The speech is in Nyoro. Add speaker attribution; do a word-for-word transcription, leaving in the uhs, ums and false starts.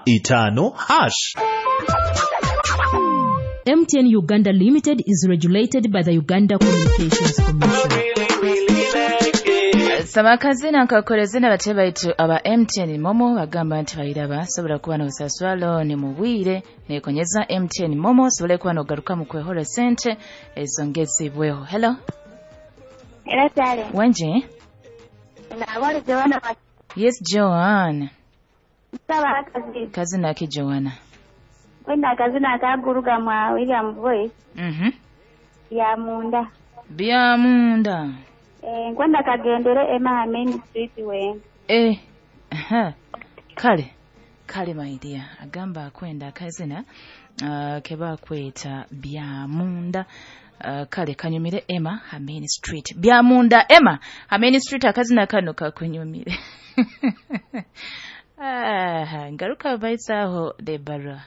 Speaker 1: Itaano hash.
Speaker 2: M T N Uganda Limited is regulated by the Uganda Communications Commission.
Speaker 3: Saba akazina nkakoleze bate baitu aba M T N MoMo bagamba nti bayiraba sobola kuba n'osasula looni mu bwire nekonyeza M T N MoMo osobole kuba n'ogaruka mu kwehora sente ezongezibweho. Hello.
Speaker 4: Era kyale.
Speaker 3: Wenje?
Speaker 4: Nabole Joanna.
Speaker 3: Yes, Joanna.
Speaker 4: Nsaba akazi.
Speaker 3: Kazina ki, Joanna?
Speaker 4: Kwenda akazina akaguruga mwa William Voice.
Speaker 3: Mhm
Speaker 4: ya munda.
Speaker 3: Bya munda.
Speaker 4: Eh, nkwenda kagendere Emma Main Street we.
Speaker 3: Eh, aha. Kale kale, my dear, agamba akwenda akazina uh, kebakweta bya munda. uh, kale kanyumire Emma ha Main Street. Bya munda, Emma ha Main Street, akazina kano kakunyumire. Ah, ngaruka baitsaho debarwa.